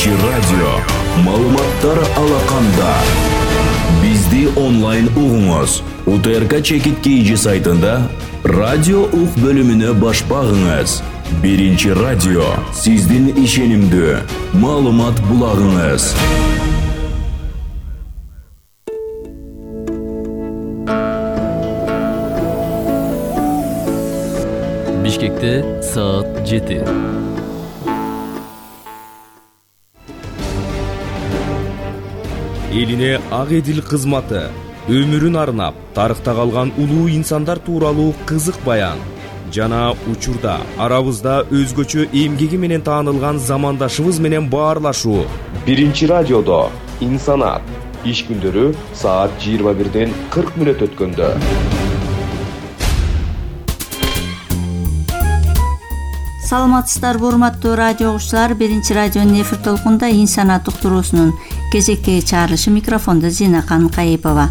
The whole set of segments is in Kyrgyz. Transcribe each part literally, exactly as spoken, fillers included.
Биринчи радио. Маалыматтар алаканда. Бизди онлайн угуңуз. УТРК Чекит Кийжи сайтында радио ук бөлүмүнө баш багыңыз. Биринчи радио. Сиздин ишенимдүү маалымат булагыңыз. Бишкекте саат жети. Элине ак эдил кызматы, өмүрүн арнап, тарыхта калган улуу инсандар тууралуу кызык баян жана учурда арабызда өзгөчө эмгеги менен таанылган замандашыбыз менен баарлашуу. Биринчи радиодо инсанат иш күндөрү саат жыйырма бирден кырк мүнөт өткөндө. Саламатсыздарбы, урматтуу радио угуучулар. Биринчи радионун эфир толкунда инсанат уктуруусунун кезектеги чыгарылышы, микрофондо Зинакан Кайыпова.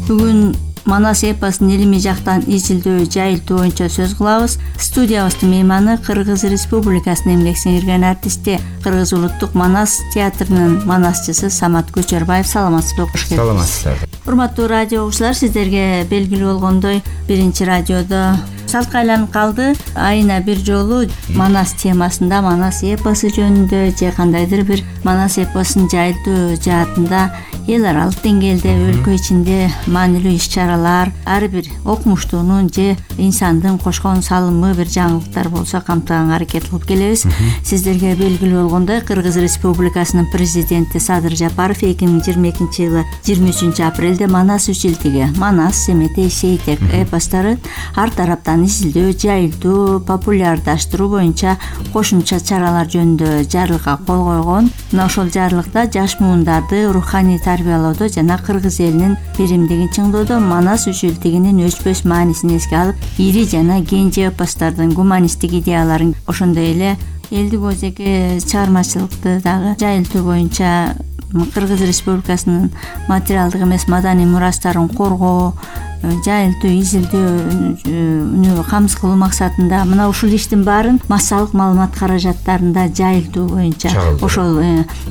Бүгүн Манас эпосун илимий жактан изилдөө, жайылтуу боюнча сөз кылабыз. Студиябыздын мейманы Кыргыз Республикасынын эмгек сиңирген артисти, Кыргыз улуттук Манас театрынын манасчысы Самат Көчөрбаев. Саламатсызбы? Кош келиңиз. Саламатсыздар. Урматтуу радио угуучулар, сиздерге белгилүү болгондой, биринчи радиодо салтка айланып калды. Айына бир жолу Манас темасында, Манас эпосу жөнүндө же кандайдыр бир Манас эпосун жайылтуу жаатында эл аралык деңгээлде, өлкө ичинде маанилүү иш-чаралар, ар бир окумуштуунун же инсандын кошкон салымы, бир жаңылыктар болсо камтыганга аракет кылып келебиз. Сиздерге белгилүү болгондой, Кыргыз Республикасынын президенти Садыр Жапаров эки миң жыйырма экинчи жылы жыйырма үчүнчү апрелде Манас үч илтиги, Манас, Семетей, Сейтек эпостары ар тараптан изилдөө, жайылтуу, популярдаштыруу боюнча кошумча чаралар жөнүндө жарлыкка кол койгон. Мына ошол жарлыкта жаш муундарды руханий тарбиялоодо жана кыргыз элинин биримдигин чыңдоодо Манас үч илтигинин өчпөс маанисин эске алып, ири жана кенже эпостардын гуманисттик идеяларын, ошондой эле элдик өзеги чыгармачылыкты дагы жайылтуу боюнча Кыргыз Республикасынын материалдык эмес маданий мурастарын коргоо, жайылтуу, изилдөөнү камсыз кылуу максатында мына ушул иштин баарын массалык маалымат каражаттарында жайылтуу боюнча ошол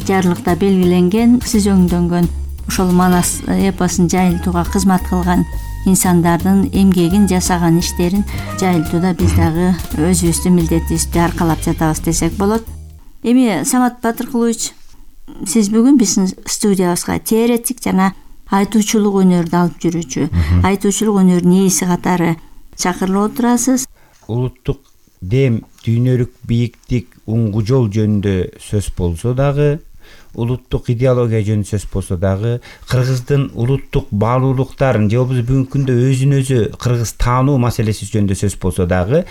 жарлыкта белгиленген. Сиз өңдөнгөн ошол Манас эпосун жайылтууга кызмат кылган инсандардын эмгегин, жасаган иштерин жайылтууда биз дагы өзүбүздүн милдетибизди аркалап жатабыз десек болот. Эми Самат Батыркулович, сиз бүгүн биздин студиябызга теоретик жана айтуучулук өнөрдү алып жүрүүчү, айтуучулук өнөрүнүн ээси катары чакырылып отурасыз. Улуттук дем, дүйнөлүк бийиктик, уңгу жол жөнүндө сөз болсо дагы, улуттук идеология жөнүндө сөз болсо дагы, кыргыздын улуттук баалуулуктарын же болбосо бүгүнкү күндө өзүн өзү кыргыз таануу маселеси жөнүндө сөз болсо дагы,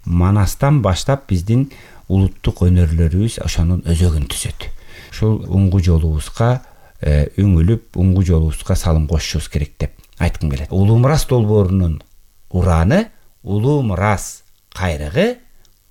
Манастан баштап биздин улуттук өнөрлөрүбүз ошонун өзөгүн түзөт. Ушул уңгу жолубузга үңүлүп, уңгу жолубузга салым кошушубуз керек деп айткым келет. Улуу мурас долбоорунун ураны, улуу мурас кайрыгы,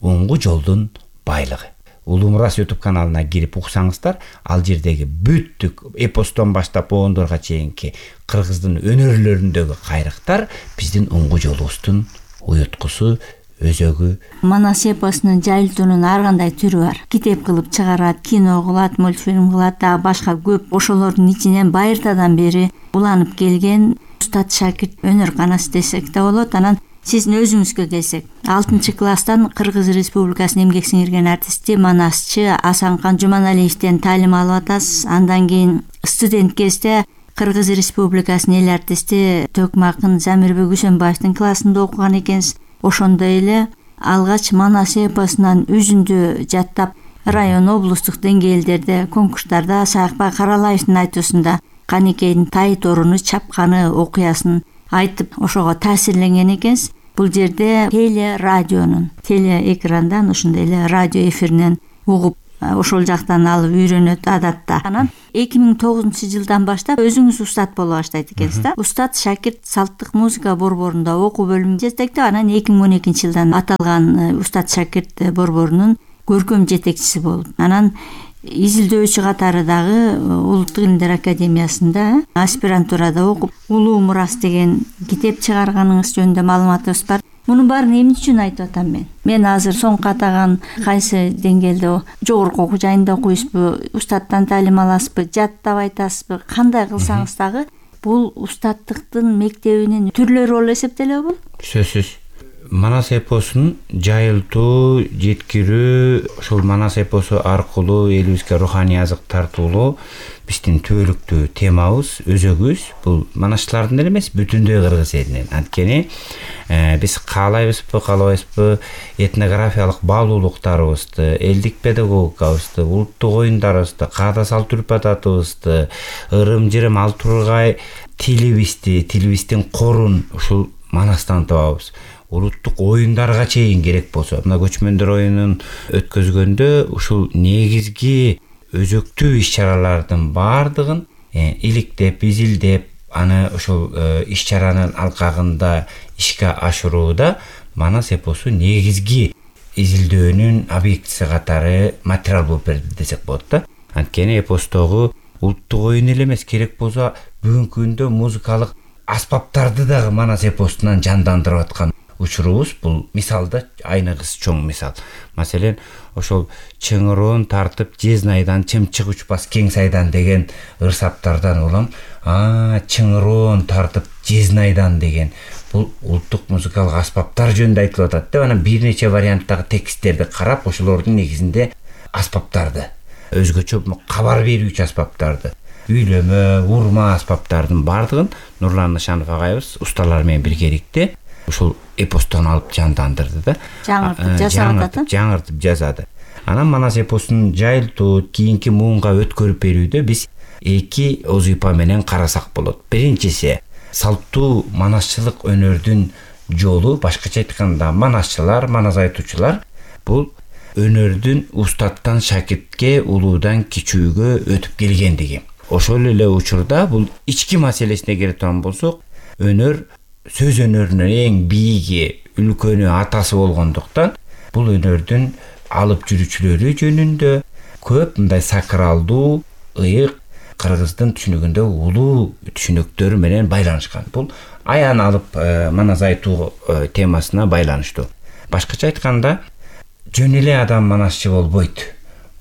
уңгу жолдун байлыгы. Улуу мурас YouTube каналына кирип уксаңыздар, ал жердеги бүттүк эпостон баштап боондорго чейинки кыргыздын өнөрлөрүндөгү кайрыктар биздин уңгу жолубуздун уюткусу, өзөгү. Манас эпосунун жайылтуунун ар кандай түрү бар. Китеп кылып чыгарат, кино кылат, мультфильм кылат, дагы башка көп. Ошолордун ичинен байыртадан бери уланып келген устат шакирт өнөр канасы десек да болот. Анан сиздин өзүңүзгө келсек, алтынчы класстан Кыргыз Республикасынын эмгек сиңирген артисти, манасчы Асанкан Жуманалиевден таалим алып атасыз. Андан кийин студент кезде Кыргыз Республикасынын эл артисти Төкмакын Замирбек Үсөнбаевдин классында окуган экенсиз. Ошондой эле алгач Манас эпосунан үзүндү жаттап, район, облустук деңгээлдерде конкурстарда Саакбай Каралаевдин айтуусунда Канекейдин тай торуну чапканы окуясын айтып, ошого таасирленген экенсиз. Бул жерде теле радионун, теле экрандан, ошондой эле радио эфиринен угуп, ошол жактан алып үйрөнөт адатта. Анан эки миң тогузунчу жылдан баштап өзүңүз устат боло баштайт экенсиз да. Устат шакирт салттык музыка борборунда окуу бөлүмүн жетектеп, анан эки миң он экинчи жылдан аталган устат шакирт борборунун көркөм жетекчиси болуп, анан изилдөөчү катары дагы Улуттук илимдер академиясында аспирантурада окуп, Улуу мурас деген китеп чыгарганыңыз жөнүндө маалыматыбыз бар. Мунун баарын эмне үчүн айтып атам мен? Мен азыр соңку атаган кайсы деңгээлде жогорку окуу жайында окуйсузбу, устаттан таалим аласызбы, жаттап айтасызбы, кандай кылсаңыз дагы бул устаттыктын мектебинин түрлөрү болуп эсептелеби бул? Сөзсүз. Манас эпосун жайылтуу, жеткирүү, ошол Манас эпосу аркылуу элибизге руханий азык тартуулоо биздин түбөлүктүү темабыз, өзөгүбүз. Бул манасчылардын эле эмес, бүтүндөй кыргыз элинин. Анткени биз каалайбызбы, каалабайбызбы, этнографиялык баалуулуктарыбызды, элдик педагогикабызды, улуттук оюндарыбызды, каада салт үрп-адатыбызды, ырым-жырым, ал тургай тилибизди, тилибиздин корун ушул Манастан табабыз. Улуттук оюндарга чейин керек болсо, мына көчмөндөр оюнун өткөзгөндө ушул негизги өзөктүү иш-чаралардын баардыгын иликтеп, изилдеп, аны ошол иш-чаранын алкагында ишке ашырууда Манас эпосу негизги изилдөөнүн объектиси катары материал болуп берди десек болот да. Анткени эпостогу улуттук оюн эле эмес, керек болсо бүгүнкү күндө музыкалык аспаптарды дагы Манас эпосунан жандандырып аткан учурубуз. Бул мисалда айныгыс чоң мисал. Маселен, ошол чыңыроон тартып Жезнайдан чымчык учпас кең сайдан деген ырсаптардан улам, а чыңыроон тартып Жезнайдан деген бул улуттук музыкалык аспаптар жөнүндө айтылып атат деп, анан бир нече варианттагы тексттерди карап, ошолордун негизинде аспаптарды, өзгөчө кабар берүүчү аспаптарды, үйлөмө, урма аспаптардын баардыгын Нурлан Нышанов агайыбыз усталар менен биргеликте ушул эпостон алып жандандырды да. Жаңыртып жасады. Жаңыртып жасады. Анан Манас эпосун жайылтуу, кийинки муунга өткөрүп берүүдө биз эки озуйпа менен карасак болот. Биринчиси салттуу манасчылык өнөрдүн жолу, башкача айтканда манасчылар, манас айтуучулар бул өнөрдүн устаттан шакиртке, улуудан кичүүгө өтүп келгендиги. Ошол эле учурда бул ички маселесине келе турган болсок, өнөр сөз өнөрүнүн эң бийиги, үлкөнү, атасы болгондуктан бул өнөрдүн алып жүрүүчүлөрү жөнүндө көп мындай сакралдуу, ыйык, кыргыздын түшүнүгүндө улуу түшүнүктөр менен байланышкан. Бул аян алып манас айтуу темасына байланыштуу. Башкача айтканда, жөн эле адам манасчы болбойт.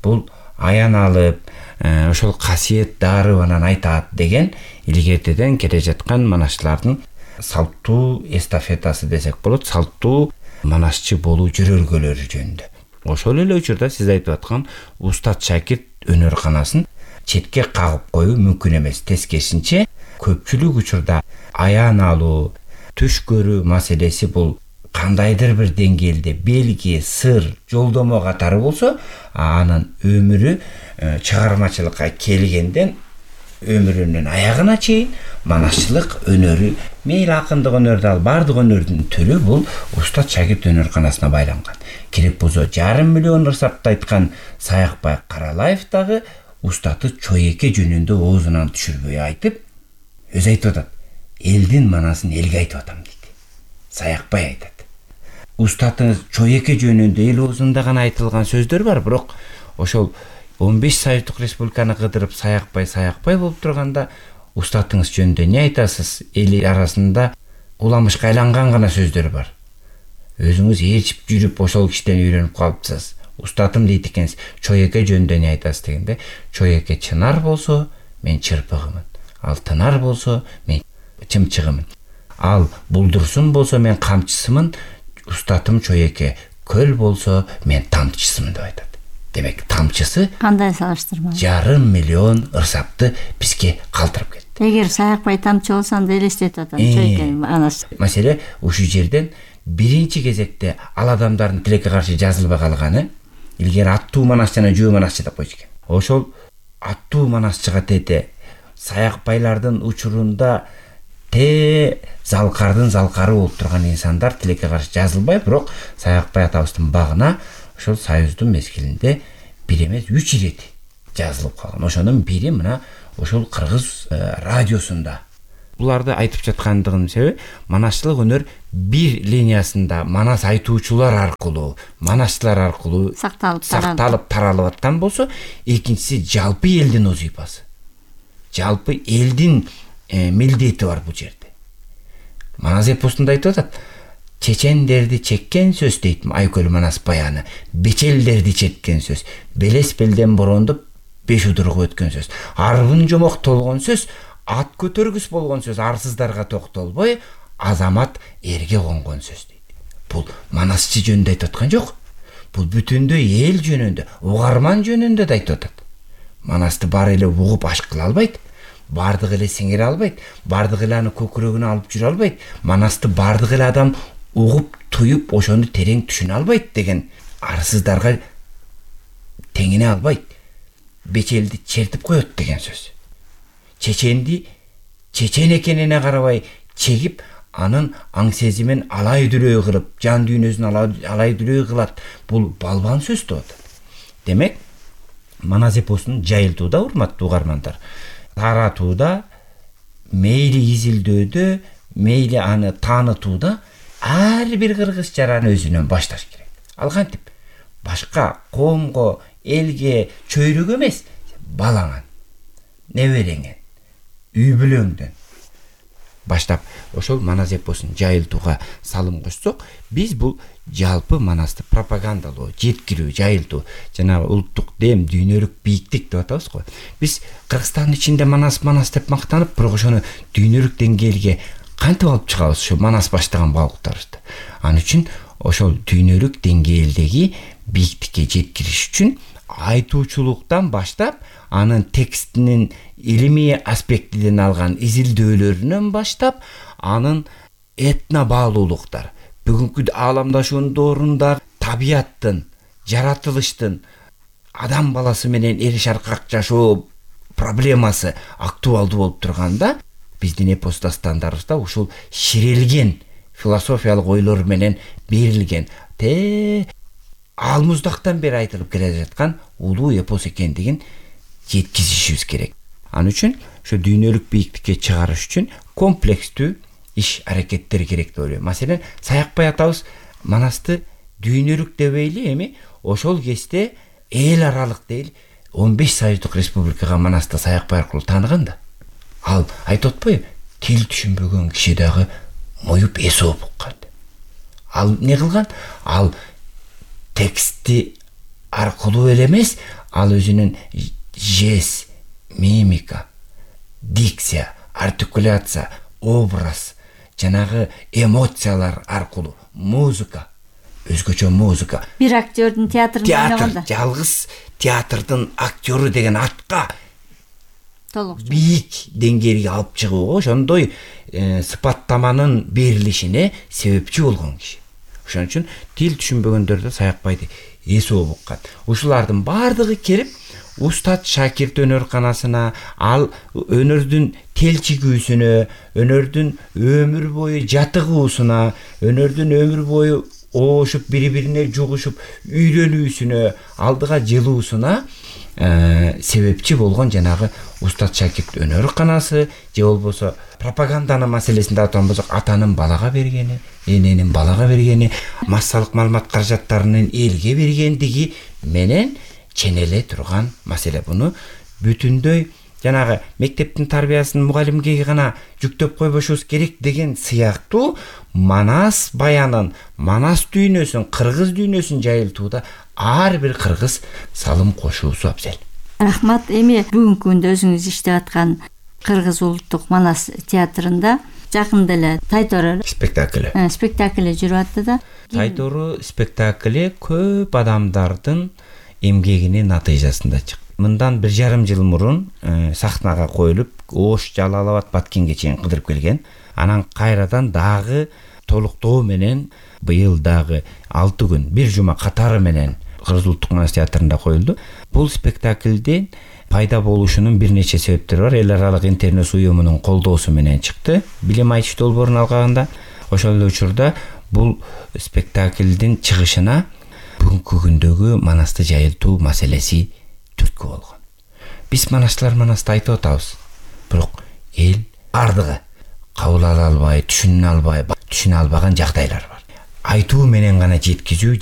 Бул аян алып, ошол касиет дарыбанан айтат деген илгертеден келе жаткан манасчылардын салттуу эстафетасы десек болот, салттуу манасчы болуу жөрөлгөлөрү жөнүндө. Ошол эле учурда сиз айтып аткан устат шакирт өнөрканасын четке кагып коюу мүмкүн эмес. Тескерисинче, көпчүлүк учурда аян алуу, түш көрүү маселеси бул кандайдыр бир деңгээлде белги, сыр, жолдомо катары болсо, анын өмүрү чыгармачылыкка келгенден өмүрүнүн аягына чейин манасчылык өнөрү, мейли акындык өнөрдү ал, баардык өнөрдүн түрү бул устат шакирт өнөрканасына байланган. Керек болсо жарым миллион ырсапты айткан Саякбай Каралаев дагы устаты Чоеке жөнүндө оозунан түшүрбөй айтып, өзү айтып атат. Элдин манасын элге айтып атам дейт. Саякбай айтат. Устаты Чоеке жөнүндө эл оозунда гана айтылган сөздөр бар, бирок ошол он беш Советтик Республиканы кыдырып Саякбай Саякбай болуп турганда, устатыңыз жөнүндө эмне айтасыз? Эл арасында уламышка айланган гана сөздөр бар. Өзүңүз ээрчип жүрүп ошол кишиден үйрөнүп калыпсыз. Устатым дейт экенсиз. Чоеке жөнүндө эмне айтасыз дегенде, Чоеке чынар болсо, мен чырпыгымын. Ал тынар болсо, мен чымчыгымын. Ал булдурсун болсо, мен камчысымын. Устатым Чоеке көл болсо, мен тамчысымын деп айтат. Демек, тамчысы кандай салыштырма? Жарым миллион ырсапты бизге калтырып кетти. Эгер Саякбай тамчы болсо, анда элестетип атам Чоекенин анасы. Маселе ушул жерден биринчи кезекте ал адамдардын тилекке каршы жазылбай калганы, илгери аттуу манасчы жана жөө манасчы деп койчу экен. Ошол аттуу манасчыга тете Саякбайлардын учурунда те залкардын залкары болуп турган инсандар тилекке каршы жазылбай, бирок Саякбай атабыздын багына ошол союздун мезгилинде бир эмес үч ирет жазылып калган. Ошонун бири мына ошол кыргыз радиосунда. Буларды айтып жаткандыгынын себеби, манасчылык өнөр бир линиясында манас айтуучулар аркылуу, манасчылар аркылуу сакталып сакталып таралып аткан болсо, экинчиси жалпы элдин озуйпасы. Жалпы элдин милдети бар бул жерде. Манас эпосунда айтып атат, чечендерди чеккен сөз дейт Айкөл Манас баяны. Бечелдерди чеккен сөз. Белес белден борондуп беш удурга өткөн сөз. Арбын жомок толгон сөз, ат көтөргүс болгон сөз, арсыздарга токтолбой, азамат эрге конгон сөз дейт. Бул Манасчы жөнүндө айтып аткан жок. Бул бүтүндөй эл жөнүндө, угарман жөнүндө да айтып атат. Манасты баары эле угуп ашк кыла албайт, бардыгы эле сиңире албайт, бардыгы эле аны көкүрөгүнө алып жүрө албайт. Манасты бардыгы эле адам угуп, туюп, ошону терең түшүнө албайт деген арсыздарга теңине албайт. Бечелди чертип коет деген сөз. Чеченди чечен экенине карабай чегип, анын аң сезимин алай дүлөй кылып, жан дүйнөсүн алай дүлөй кылат. Бул балбан сөз болот. Демек, Манас эпосун жайылтууда, урматтуу угармандар, таратууда, мейли изилдөөдө, мейли аны таанытууда ар бир кыргыз жараны өзүнөн башташ керек. Ал кантип? Башка коомго, элге, чөйрөгө эмес, балаңан, небереңен, үй бүлөңдөн баштап ошол Манас эпосун жайылтууга салым кошсок, биз бул жалпы Манасты пропагандалоо, жеткирүү, жайылтуу, жанагы улуттук дем, дүйнөлүк бийиктик деп атабыз го. Биз Кыргызстандын ичинде Манас Манас деп мактанып, бирок ошону дүйнөлүк деңгээлге кантип алып чыгабыз ошо Манас баштаган балыктарыбызды. Ал үчүн ошол дүйнөлүк деңгээлдеги бийиктикке жеткириш үчүн айтуучулуктан баштап, анын текстинин илимий аспектиден алган изилдөөлөрүнөн баштап, анын этно баалуулуктар, бүгүнкү ааламдашуунун доорунда табияттын, жаратылыштын, адам баласы менен эрешаркак жашоо проблемасы актуалдуу болуп турганда, биздин эпос дастандарыбызда ушул ширелген философиялык ойлор менен берилген, те алмуздактан бери айтылып келе жаткан улуу эпос экендигин жеткизишибиз керек. Ал үчүн ошо дүйнөлүк бийиктикке чыгарыш үчүн комплекстүү иш аракеттер керек деп ойлойм. Маселен, Саякбай атабыз Манасты дүйнөлүк дебейли, эми ошол кезде эл аралык дейли он беш союздук республикага Манасты Саякбай аркылуу тааныган да. Ал айтып атпайбы, тил түшүнбөгөн киши дагы моюп эсоп уккан. Ал не кылган? Ал тексти аркылуу эле эмес, ал өзүнүн жест, мимика, дикция, артикуляция, образ, жанагы эмоциялар аркылуу, музыка, өзгөчө музыка. Бир актёрдун театрында ойногондо. Театр, жалгыз театрдын актёру деген атка толук бийик деңгээлге алып чыгууга ошондой сыпаттаманын берилишине себепчи болгон киши. Ошон үчүн тил түшүнбөгөндөр да Саякбайды эсоп уккан. Ушулардын баардыгы келип, устат шакирт өнөрканасына, ал өнөрдүн телчигүүсүнө, өнөрдүн өмүр бою жатыгуусуна, өнөрдүн өмүр бою оошуп, бири-бирине жугушуп, үйрөнүүсүнө, алдыга жылуусуна себепчи болгон жанагы устат шакирт өнөрканасы, же болбосо пропаганданын маселесинде айтқан болсок, атанын балага бергени, эненин балага бергени, массалык маалымат каражаттарынын элге бергендиги менен ченеле турган маселе. Буну бүтүндөй жанагы мектептин тарбиясын мугалимге гана жүктөп койбошубуз керек деген сыяктуу Манас баянын, Манас дүйнөсүн, кыргыз дүйнөсүн жайылтууда ар бир кыргыз салым кошуусу абзел. Рахмат. Эми бүгүнкү күндө өзүңүз иштеп аткан Кыргыз улуттук Манас театрында жакында эле Тайтору спектакли спектакли жүрүп атты да. Тайтору спектакли көп адамдардын эмгегинин натыйжасында чыкты. Мындан бир жарым жыл мурун сахнага коюлуп, Ош, Жалал-Абад, Баткенге чейин кыдырып келген. Анан кайрадан дагы толуктоо менен быйыл дагы алты күн, бир жума катары менен Кыргыз улуттук Манас театрында коюлду. Бул спектаклдин пайда болушунун бир нече себептери бар. Эл аралык интернет уюмунун колдоосу менен чыкты. Билим айтыш долбоорун алганда, ошол эле учурда бул спектаклдин чыгышына бүгүнкү күндөгү Манасты жайылтуу маселеси түрткү болгон. Биз Манасчылар Манасты айтып атабыз, бирок эл бардыгы кабыл ала албай, түшүнө албай, түшүнө албаган жагдайлар бар. Айтуу менен гана жеткизүү